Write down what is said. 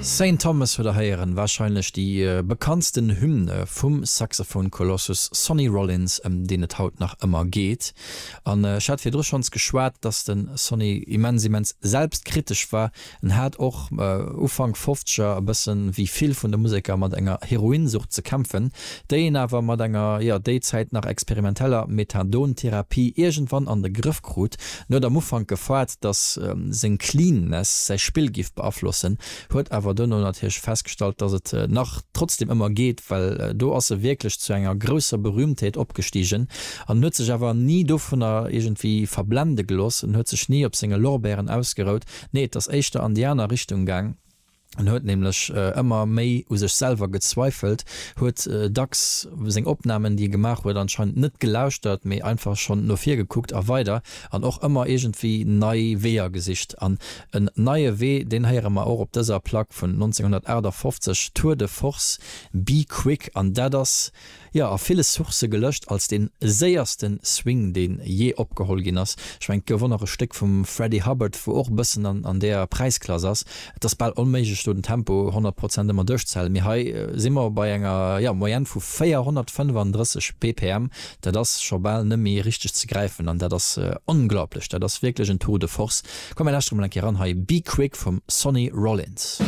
Saint Thomas huet der héieren, warscheinlech déi bekanntsten Hymne vum Saxophon-Kolossus Sonny Rollins, ëm deen et haut nach ëmmer geet. An ech hat virdru schonns geschwat, dass de Sonny immens, immens selbstkritesch war. En hat och Ufank Fofzeger e bëssen, wéi vill vun de Museker, mat enger Heroinsucht ze kämpfen, déi en awer mat enger, jo, déi Zäit nach experimenteller Methadon-Therapie iergendwann an de Grëff krut. En huet am Ufank gefaart, datt seng Cleanness säi Spill giff beaflossen, huet awer duerno natierlech festgestallt, datt et nach trotzdem ëmmer geet, well do ass e wierklech zu enger grousser Berühmtheet opgestigen an huet sech awer ni dovunner iergendwéi verblende gelooss. En huet sech ni op senge Lorbeeren ausgerout, nee, et ass éischter an déi aner Richtung gaang. En huet nämlech ëmmer méi u sech selwer gezweifelt, huet dacks seng Opnamen, déi e gemaach huet, anscheinend net gelauschtert, mee einfach schonn no vir gekuckt a weider an och ëmmer iergendwéi nei Weeër gesicht. An en neie Wee, deen héiere mer och op dëser Plack vun 1958, Tour de Force, Be Quick. An dat ass Jo, a ville Sourcë gelëscht als dee séierste Swing, dee jee opgeholl ginn ass. Ech mengen, et gouf och nach e Stéck vum Freddie Hubbard, wou och e bëssen an deeër Präisklass ass. Et ass bal onméiglech, do den Tempo 100 Prozent ëmmer duerchzehalen, mee hei si mer bei enger, jo, Moyenne vu 435 BPM. Dat ass scho bal net méi richteg ze gräifen an dat ass onglaublech. Dat ass wierklech en Tour de force. Komm, mir lauschtere mol eng Kéier eran hei, Be Quick vum Sonny Rollins.